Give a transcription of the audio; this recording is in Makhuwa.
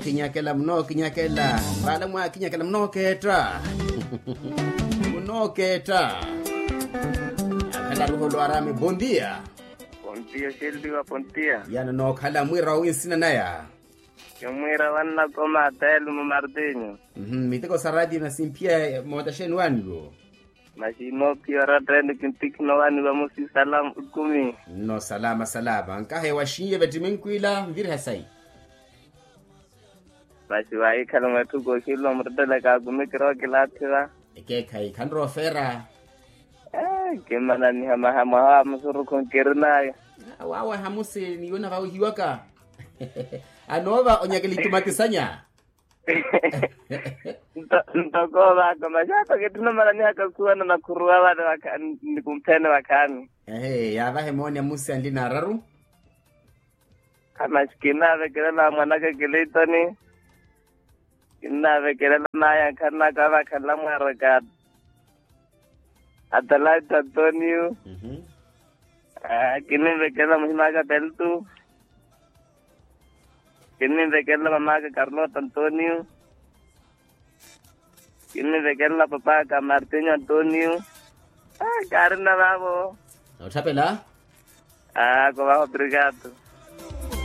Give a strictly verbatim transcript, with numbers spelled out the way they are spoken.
Kinyakela munookinyakela. Vala mwakinyakela munookeetta. Munookeetta. Akhala ruholo arame bondia. Pontiya oxeliwa pontiya. Yana nookhala mwiira wawi nsina naya. Kimwiira wannakoma telu mu martinyo. Miteko sa ratio na simphiya mootaxeni waniwo. Maxi inoophiya oratteni kintikhina owaniwa musisala. Kumi. Nno salama salama nkahe waxiiye vettiminkwila nviriha sayi. Masi wahikhala mwetthu kooxilwa muruttelaka akumi kirookilaathiwa. Ekeekhayi khanroofeera. Kimmananiha maha mwaha wa musurukhu nkirinaya. Wawe hamusi ni yuna vawihiwaka. Anoova onyakela itumatisanya. Ntoko ovaka masi ato kitthuna omananihaka okhuwana nakhuruwa vale. Nikumphene vakhaani. Ehe yaavahe mooni amusi anli naararu. Masi kinnavekelela mwanaka kiliitoni. Kinnavekelela maya nkhanaka avakhalela mwaraka. Atalaita antonio. Kinnivekelela muhimaka peltu. Kinnivekelela mamaka karlota antonio. Kinnivekelela papaka martinho antonio. Kaarina vavo. Otthapela. Ako vavo obrigado.